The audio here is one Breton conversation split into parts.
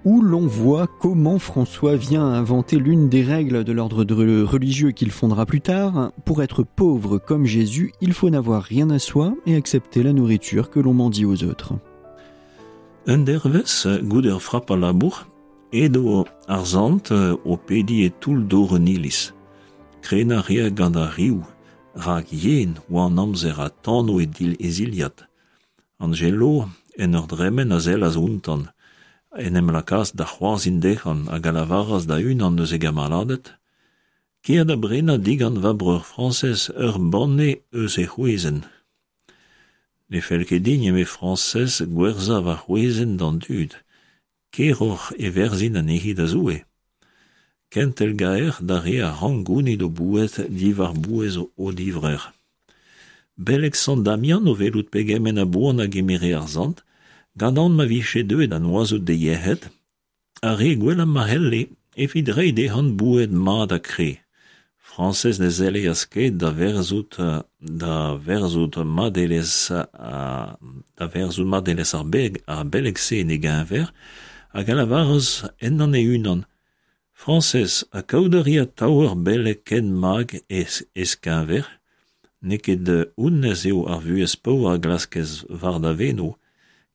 où l'on voit comment François vient inventer l'une des règles de l'ordre religieux qu'il fondera plus tard. Pour être pauvre comme Jésus, il faut n'avoir rien à soi et accepter la nourriture que l'on mendie aux autres. Un dervez, goude ur frap a labour, edo ar zant o pediñ e toull dor un iliz. Krenañ a rea gant ar riv, rak yen oa an amzer ha tano e zilhad. Angelo, en ur dremen a sellas outañ, en em lakaas da c'hoarzhin dezhañ hag a lavaras da unan eus e gamaladed, Kea da brenañ digant va breur Frañsez ur banne eus e c'hwezenn. Ne fell ket din, eme Frañsez, gwerzhañ va c'hwezenn d'an dud. Keroc'h e werzhin anezhi da Zoue. Kentel gaer d'ar re a rank gounit o boued diwar-bouez o divrec'h. Beleg Sant Damian o welout pegement a boan a gemere ar sant, gant aon ma vije deuet da noazout d'e yec'hed, a re gwellañ ma c'helle evit reiñ dezhañ boued mat ha kre. Frañsez ne zeleas ket da verzout da verzout madelezh da verzout madelezh ar ar beleg-se en e geñver hag a lavaras ennañ e-unan Frañsez, ha kaout a ri atav ur beleg ken mak ez keñver? N'eo ket honnezh eo ar vuhez paour a glaskez war da veno.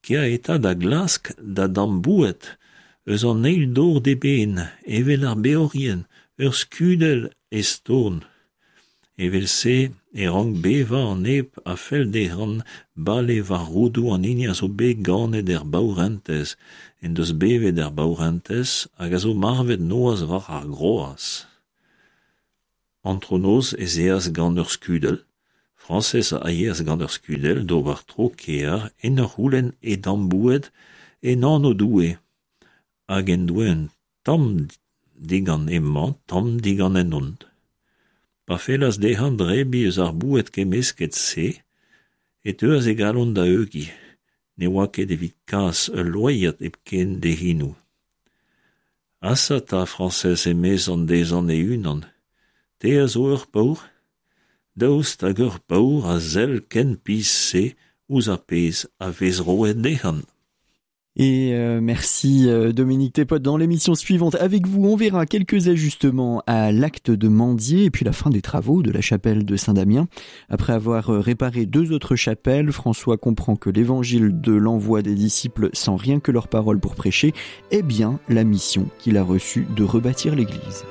Kea eta da glask da damm boued eus an eil dor d'eben, evel ar beorien, ur skudell ez torn. Evel-se e rank bevañ an neb a fell dezhañ bale war roudoù an hini a zo bet ganet er baourentez, en deus bevet er baourentez hag a zo marvet noazh war ar groaz. Antronoz ez eas gant ur skudell, Frañsez a yeas gant ur skudell d'ober tro kêr en ur c'houlenn e damm boued en anv Doue, hag en doe un tamm digant hemañ, tamm digant henhont. Pa fellas dezhañ drebiñ eus ar boued kemmesket-se e teuas e galon da heugiñ. Ne oa ket evit kas ul loaiad hepken d'e c'henoù. Asa 'ta, Frañsez, emezañ dezhañ e-unan, te a zo ur paour? Daoust hag ur paour a sell ken pizh-se ouzh ar pezh a vez roet dezhañ? Et euh, merci euh, Dominique Tépot. Dans l'émission suivante, avec vous, on verra quelques ajustements à l'acte de mendier et puis la fin des travaux de la chapelle de Saint-Damien. Après avoir euh, réparé deux autres chapelles, François comprend que l'évangile de l'envoi des disciples sans rien que leur parole pour prêcher est bien la mission qu'il a reçue de rebâtir l'église.